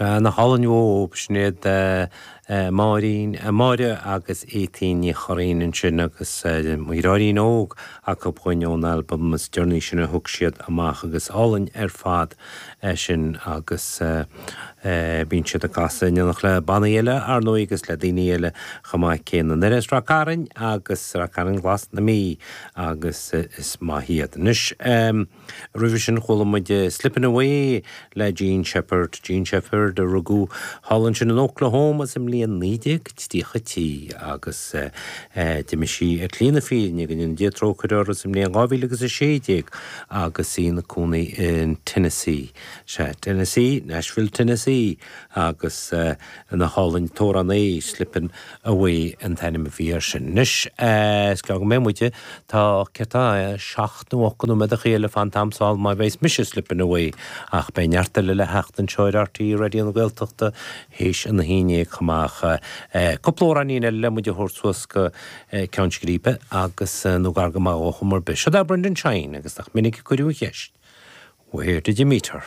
Sea, nach álainn uathu, sin iad Máirín, Máire agus Étaín Ní Churraoin ansin agus Mo Dheartháirín Óg acu dhúinn ón albam is deireanaí sin a thug siad amach agus álainn ar fad é sin agus bíonn siad ag casadh in éineacht le bannaí eile ar ndóigh agus le daoine eile chomh maith céanna. Na as Ráth Cairn agus Ráth Cairn Glas na Mí agus is maith iad. Anois. Roimhe sin chuala muid Slippin' Away le Jean Shepard, Jean Shepard a rugadh thall ansin in Oklahoma sa mbliain 1933 agus d'imigh sí ar shlí na fírinne, go ndéana Dia trócaire uirthi, sa mbliain 2016 agus í ina cónaí in Tennessee. Sea, Tennessee, Nashville, Tennessee agus nach álainn an t-amhrán é Slippin' Away an t-ainm a bhí air sin. Anois, is gearr go mbeidh muid, tá, céard tá, nó 8 nóiméadachaí eile fán t-am seo má bheas mise slippin' away ach beidh neart eile le theacht anseo ar RTÉ Raidió na Gaeltachta théis an 11 chomh maith. Cúpla amhráinín eile le muid a thabhairt suas go Ceann Scríbe agus nó gar go maith dhó chuma ar bith. Seo é Brendan Shine agus nach minic a cuireadh an cheist Where did you meet her?